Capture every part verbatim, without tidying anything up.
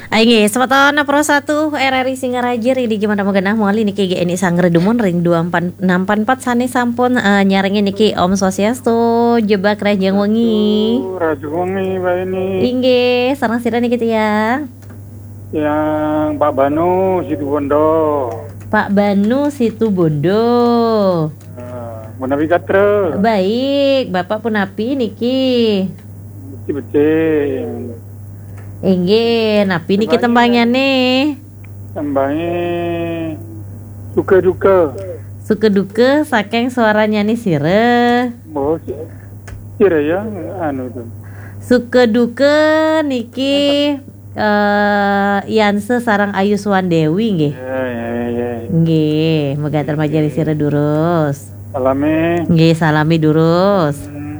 Inggih, semeton Pro satu R R I Singaraja, ring dija mangkin genah malih niki G N I Sanggra dumun ring dua empat enam empat empat sané sampun, eh, nyarengin niki. Om Swastiastu, jebak rahajeng wengi. Rahajeng wengi, Mbak Eni. Inggih, sareng sira niki tiang? Tiang Pak Banu Situbondo. Pak Banu Situbondo. Eh, punapi gatra? Baik, Bapak punapi niki? Becik-becik. Inggih, napi niki tembangnyané? Tembangé suka duka. Suka duka saking suarannyané sira. Oh, si-, sira ya, anu tu. Suka duka niki, eh, Yansa sareng Ayu Suwandewi nggih. Ya, ya, ya. Nggih, mega terima jari sira durus. Salami. Nggih, salami durus. Hmm.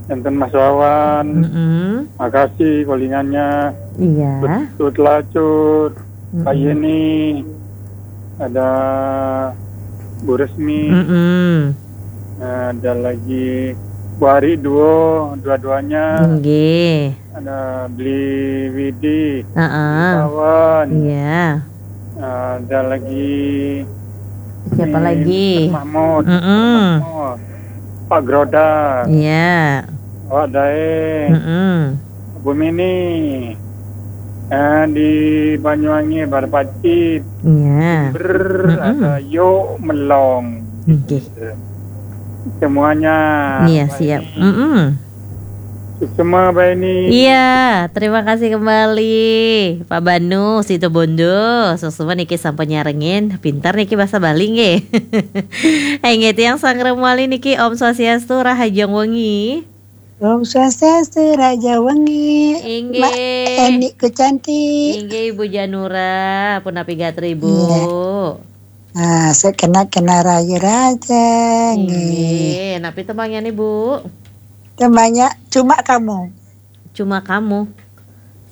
Enten Mas Wawan. Mm-mm. Makasih kolingannya. Iya. Betul Lacut, Mbak Mm-mm. Yeni, ada Bu Resmi, Mm-mm. ada lagi Bu Ari Duo, dua-duanya. Nggih. Ada Beli Widi, Heeh. Beli Wawan. Iya. Ada lagi siapa ini, lagi? Mister Mahmud, Mm-mm. Mister Mahmud. Pak Groda. Iya. Awak Daeng. Mm-mm. Bu Mini. Eh, di Banyuwangi, Barpacit. Iya. Ber, Mm-mm. ada Yok Melong. Nggih. Semuanya. Iya, Mbak siap. Eni. Mm-mm. Suksma, Mbak Eni. Iya, terima kasih kembali, Pak Banu Situbondo. Suksma niki sampun nyarengin, pinter niki bahasa Bali nggih. Inggih, tiang sanggra malih niki, Om Swastiastu, rahajeng wengi. Om Swastiastu, rahajeng wengi. Inggih. Mbak Eni ku cantik. Inggih, Ibu Janura, punapi gatra, Ibu? Iya. Ah, sekena-kena raya raja, nggih. Inggih, napi tembangnyané, Bu? Tembangnya Cuma Kamu. Cuma Kamu.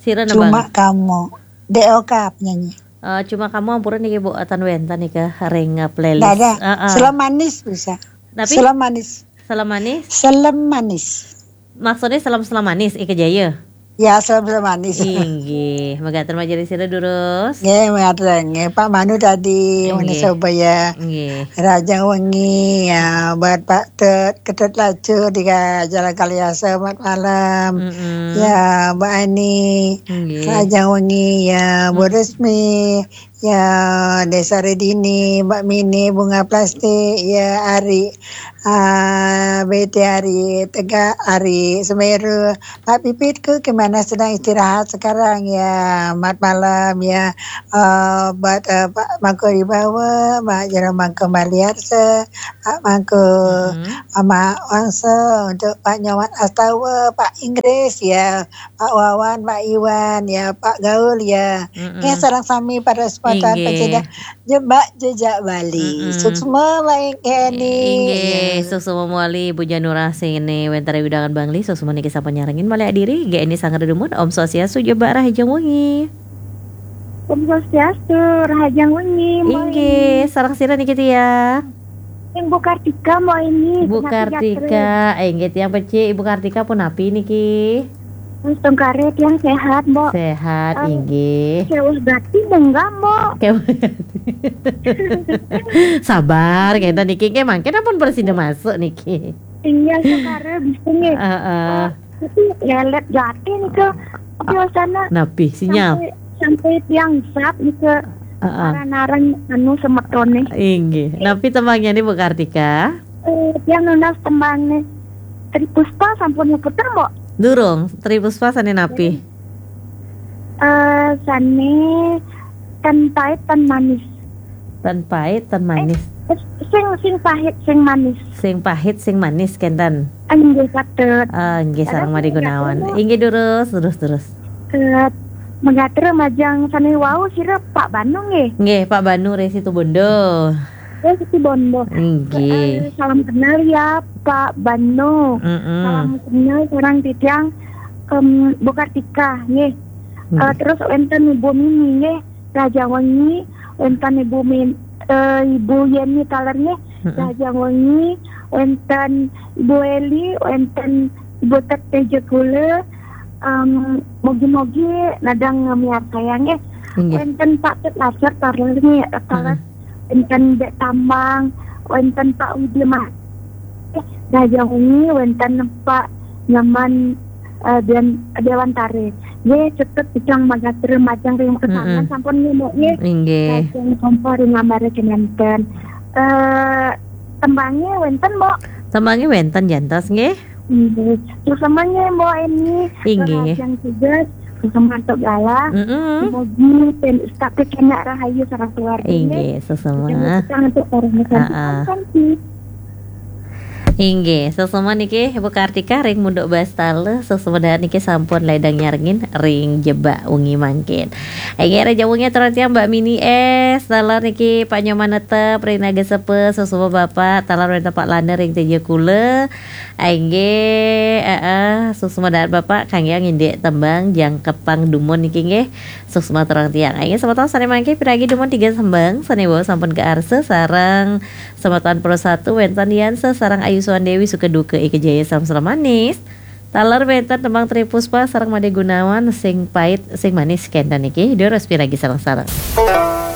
Sira nebang? Cuma Kamu. D O K penyanyi. Eh, Cuma Kamu ampura niki, Bu, atan wénten nika ring, eh, playlist. Nggak ada. Heeh. Selem Manis bisa. Napi? Selem Manis. Selem Manis? Selem Manis. Maksudnya selem-selem manis, Ika Jaya? Ya, selem-selem manis. Inggih, mega terima jari sira durus. Nggih, mega terima. Pak Manu tadi, Inggih. Mana Sobaya. Nggih. Rahajeng wengi, ya, buat Pak Tut, Ketut Lacur, di Jalan Kaliasa, selamat malam. Mm-mm. Ya, Mbak Ani, Nggih. Rahajeng wengi, ya, Bu Mm. Resmi, ya, Desa Redini, Mbak Mini, Bunga Plastik, ya, Ari, ah, B T Ari, Tegak Ari, Semeru, Pak Pipitku, gimana, sedang istirahat sekarang, ya, selamat malam, ya, eh, buat, eh, Pak Mangku Wibawa, Mbak Jero Mangku Maliarsa, Pak Mangku, Mm-mm. Mama Wangsa, untuk Pak Nyoman Astawa, Pak Inggris, ya, Pak Wawan, Pak Iwan, ya, Pak Gaul, ya. Mm-mm. Ya, sareng sami para semeton Inggih. Pecinta jebak jejak Bali. Mm-mm. Suksma, Mbak Eni. Inggih, Ya. Suksma malih, Bu Janura, sané wénten ring wewidangan Bangli, suksma niki sampun nyarengin malih adiri, G N I Sanggra dumun, Om Swastiastu, jebak rahajeng wengi. Om Swastiastu, rahajeng wengi, Mbak Inggih, Eni. Sareng sira niki tiang? Yang Bu Kartika, Mbak Eni, Bu Kartika, inggih tiang becik, Ibu Kartika punapi niki? Mas Tungkare tiang sehat, Mbok. Sehat, eh, inggih. Keweh gati munggah, Mbok. Keweh gati. Sabar, kita niki nggih mangkin ampun prasida masuk niki. Iya, Tungkare bisa nggih. Heeh. Eh, tapi lelet gati nika. Biasanya napi, sinyal? Sampai, sampai tiang zap nika. Heeh. Aran-aran anu semetoné. Inggih. Napi tembangnyané, Bu Kartika? Eh, tiang nunas tembangnyané. Tri Puspa sampun puter, Mbok? Durung, Tri Puspa sané napi? Eh, sané tan pait, tan manis. Tan pait, tan manis. Eh, sing, sing pahit, sing manis. Sing pahit, sing manis, kénten. Inggih, patut. Ah, inggih, sareng Mari Gunawan. Inggih, durus, durus, durus. Eh, mega terima majeng sané wau sira Pak Banu nggih? Nggih, Pak Banu ring Situbondo. Oh, Situbondo. Nggih. Eh, salam kenal ya, Pak Banu. Mm-mm. Salam kenal sareng titiang, em, Bu Kartika, nggih. Nggih. Eh, terus wénten Ibu Mini, nggih. Rahajeng wengi, wénten Ibu Min-, eh, Ibu Yeni taler, nggih. Mm-mm. Rahajeng wengi, wénten Ibu Eli, wénten Ibu Tet Teja Kula, Em, mogi-mogi nadang ngemiarsa nggih. Inggih. Wénten Pak Cut Lacet taler nggih, taler Mm-mm. wénten Dék Tambang, wénten Pak Widi Mas. Raja Wengi, wénten Pak Nyoman eh, Dewan, Dewan Tari. Nggih, tetep bidang magatra majeng ring kesangan Mm-mm. sampun nggih, Mbok nggih. Inggih. Lajeng kompo ring ngambaré kemanten. Eh, tembangé wénten, Mbok? Tembangé wénten jantos nggih. Inggih. Suksma nggih, Mbok Eni. Inggih. Lajeng tugas, suksma antuk galah. Mm-mm. Mugi ten tapi kena rahayu sareng keluarga nggih. Inggih, suksma. Jangan petang untuk para Ah, ah. Santi. Inggih, suksma niki Ibu Kartika ring Munduk Bas taler, suksma dahat niki sampun ledang nyarengin ring jebak wengi mangkin. Inggih, Raja Wengi atur tiang Mbak Mini S, taler niki Pak Nyoman Netep ring Naga Sepe, suksma Bapak, taler wénten Pak Lana ring Teja Kula. Inggih, heeh, suksma dahat Bapak, kanggé ngindik tembang Jangkepang Dumun niki nggih. Suksma atur tiang. Inggih, semeton sané mangkin piragi dumun tiga tembang, sané wau sampun kaarsa sareng semeton Pro Satu wénten Yansa sareng Ayu Suwandewi Sukaduka Ika Jaya Samsra Manis. Taler wénten tembang Tri Puspa sareng Made Gunawan Sing Pait Sing Manis kénten niki. Durus piragi sareng-sareng.